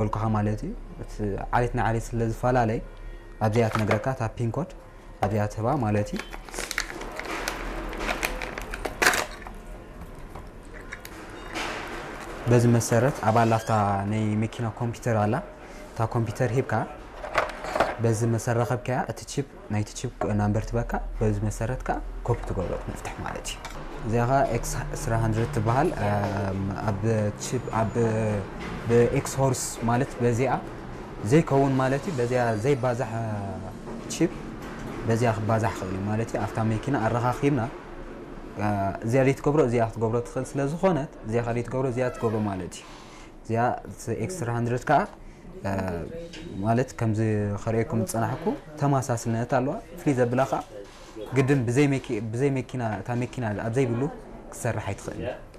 በልኩኻ ማለት እዩ። እቲ ዓሌት ንዓሌት ስለ ዝፈላለይ ኣብዚኣ ትነግረካ እታ ፒን ኮድ ኣብዚኣ ትህባ ማለት እዩ። በዚ መሰረት ኣብ ኣላፍታ ናይ መኪና ኮምፒውተር ኣላ። እታ ኮምፒውተር ሂብካ በዚ መሰረት ረኸብካያ እቲ ቺፕ ናይቲ ቺፕ ናምበር ትበካ በዚ መሰረት ከኣ ኮፒ ትገብሮ መፍትሕ ማለት እዩ። እዚኣ ኸዓ ኤክስ ስራ ሃንድረድ ትበሃል። ኣብ ቺፕ ኣብ ብኤክስ ሆርስ ማለት በዚኣ ዘይከውን ማለት እዩ። በዚኣ ዘይባዛሕ ቺፕ በዚኣ ክባዛሕ ክእል እዩ ማለት እዩ። ኣብታ መኪና ኣረኻኺብና እዚኣ ዘይትገብሮ እዚኣ ክትገብሮ ትኽእል ስለ ዝኾነት እዚኣ ከደይትገብሮ እዚኣ ትገብሮ ማለት እዩ። እዚኣ ኤክስ ስራ ሃንድረድ ከዓ ማለት ከምዚ ከርእየኩም ዝፀናሕኩ ተመሳስልነት ኣለዋ። ፍልይ ዘብላ ከዓ ግድን ብዘይ መኪና እታ መኪና ኣብ ዘይብሉ ክትሰርሕ ኣይትኽእል።